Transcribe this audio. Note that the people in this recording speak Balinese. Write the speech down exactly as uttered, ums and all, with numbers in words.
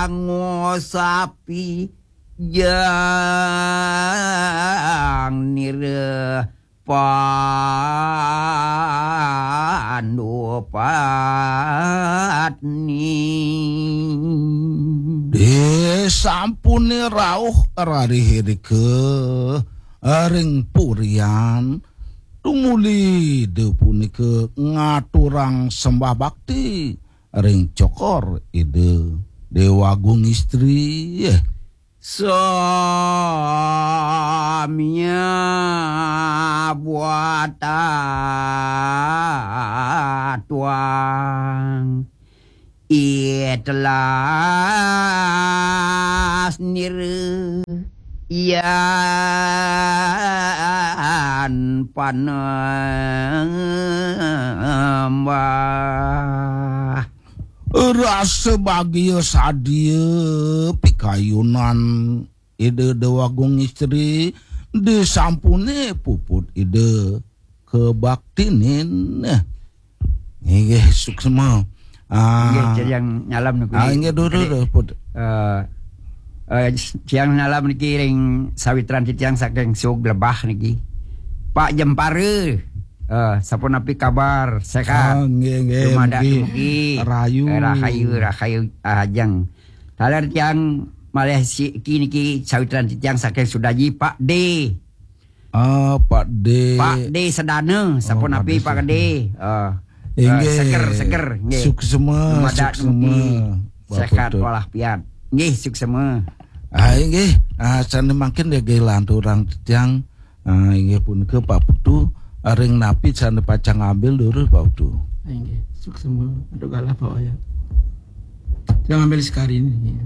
Ngusapi jang nira pandupatni. Disampune rauh rarihirika ring purian, tumuli Ida punika ngaturang sembah bakti ring cokor Ida Dewa Agung Istri. Samya buata tuang itelas nira yan panembah. Rasa bagia sadia pikayunan Ida Dewa Agung Istri, disampune puput Ida kabaktinin. Inggih, suksma. Ah, Inggih, titiang nyalam niki. Ah, inggih, duh, duh, Kadi, duh, put. Eh, eh, titiang nyalam niki ring sawitran titiang saking Sug Lebah niki. Pak Jempara. Eh, sapunapi kabar? Sehat? Ah, nggih, nggih, Dumadak mugi dumugi. Rahayu. Eh, rahayu, rahayu, ah, ajeng. Taler tiang malih siki niki sawitran titiang saking Sudaji, Pak D. Ah, Pak D. Pak D Sedana, sapunapi, Pak D? Ah, inggih. Seger, seger, nggih. Suksma, dumadak suksma, nggih. Sehat walafiat. Nggih, suksma. Ah, inggih. Ah, sane mangkin nggih lanturang titiang. Ah, inggih punika Pak Putu, ring napi sane pacang ngambil durus Pak Putu. Inggih, suksma. Aduh galah Pak Wayan. Saya ngambil sekali ini.